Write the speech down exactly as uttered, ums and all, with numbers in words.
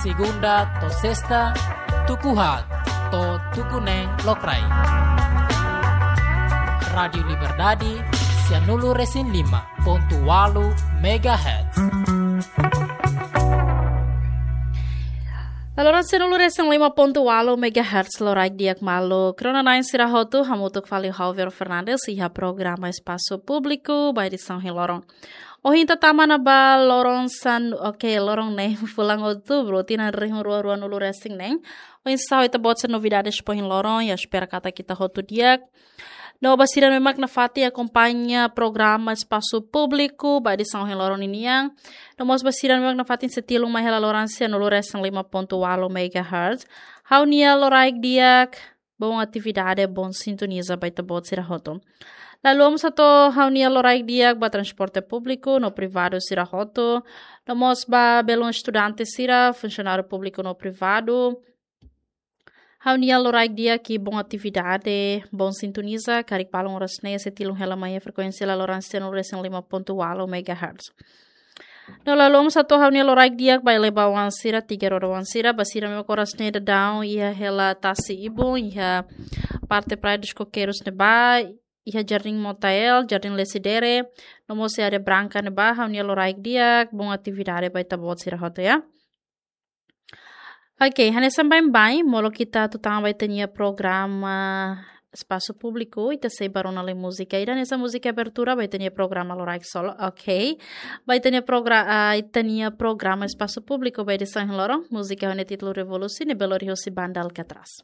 Segunda to'o sesta, tuku haat to'o tuku neen lokraik. Rádiu Liberdade, sianulu-resin-lima pontu ualu megahertz. Laloran sianulu-resin-lima pontu ualu megahertz, loraik di'ak maluk rona-na'in sira hotu, hamutuk fali ho Javier Fernandes iha programa Espasu Públiku ba edisaun ohin loron. Ohin ita tama ona ba loron san, oke, loron ne'e fulan Outubru, tinan rihun rua ruanulu-resin-neen. Oinsá ho ita-boot sira novidades ba ohin loron, ha'u espera katak ita hotu di'ak. No ba sira ne'ebé mak nafatin akompaña programa Espasu Públiku ba edisaun ohin loron ninian. No mós ba sira ne'ebé mak nafatin sei tilun mai hela laloran sianulu-resin-lima pontu ualu megahertz. Ha'u-nia loraik di'ak, boa atividade, boa sintonia ba ita-boot sira hotu. Laloos mós hato'o ha'u-nia loraik di'ak ba transporte públiku no privadu sira hotu. No mós ba belun estudante sira, funsionáriu públiku no privadu. Ha'u-nia loraik di'ak i boa atividade, boa sintonia, karik balun oras ne'e sei tilun hela mai iha frekuénsia laloran sianulu-resin-lima pontu ualu megahertz. No laloos mós hato'o ha'u-nia loraik di'ak ba eleva-oan sira, tiga roda-oan sira, ba sira ne'ebé mak oras ne'e daudaun iha hela tasi-ibun, iha parte Praia dos Coqueiros ne'ebá, iha Jardim Motael, Jardim Lecidere, no mós iha Área Branca ne'ebá, ha'u-nia loraik di'ak, boa atividade ba ita-boot sira hotu, ya. Oke, hanesan baibain, molok ita atu tama ba ita-nia programa Espasu Públiku, ita sei bá rona lai múzika. Ida hanesan múzika abertura ba ita-nia programa Loraik Solo. Oke. Ba ita-nia progra-, ah, ita-nia programa Espasu Públiku ba edisaun ohin loron, múzika ho nia títulu Revolusi, ne'ebé lori husi banda Alcatraz.